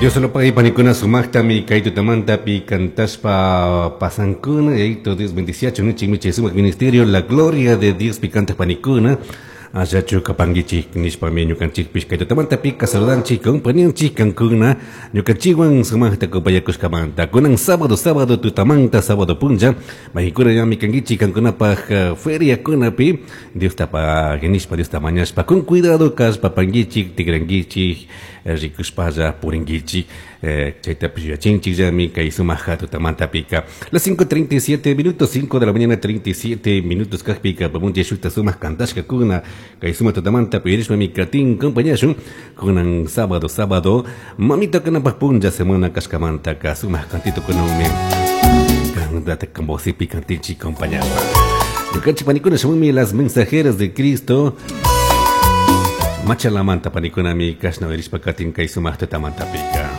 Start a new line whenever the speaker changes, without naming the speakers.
Diosolopagui panikuna sumaqtami kay tutamantapi cantashpa pasankuna Yayito Dios bendiciachun nichikmi chay sumaq ministerio La Gloria de Dios pi cantaq panikuna Allachu kapankichik nishpami ñukanchikpish kay tutamantapika saludanchik compañanchik kankuna ñukanchikwan sumaqta kupayakushkamanta kunan sábado sábado tutamanta sábado punlla maykuna ñami kankichik kankunapaj feriakunapi Diosta pagui nishpa Diosta mañashpa con cuidado kashpa pankichik tikrankichik rikushpalla purinkichik Chaytapish yuyachinchikllami kay sumak tutamantapika. Las 5:37 minutos, 5 de la mañana 37 minutos kajpika pamunchi shukta sumak kantashkakuna kay sumak tutamanta uyarishpami katin compañashun kunan sábado sábado mamita kanapak punlla semana kashkamantaka sumak kantitukunanmi kantata vosipi kantinchik compañashpa. Ñukanchik panikuna shamunmi las mensajeras de Cristo Machalamanta panikunami kashna uyarishpa katin kay sumak tutamantapika.